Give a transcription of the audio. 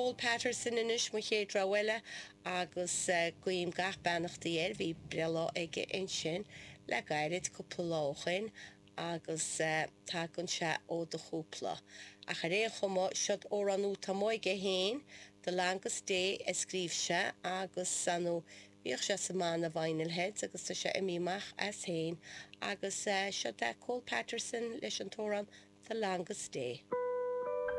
Cole Patterson anois, mo chéad rogha eile, agus guím gach beannachtaí air, bhí breithlá aige ansin le gairid, cúpla lá ó shoin, agus tagann sé ó do chúpla. Ach ar aon chuma, seod amhrán úd atá amuigh aige féin, The Longest Day a scríobh sé, agus ar ndóigh bhíodh sé sa mbanna Vinyl Heads agus tá sé imithe amach as féin, agus seod é Cole Patterson leis an t-amhrán The Longest Day.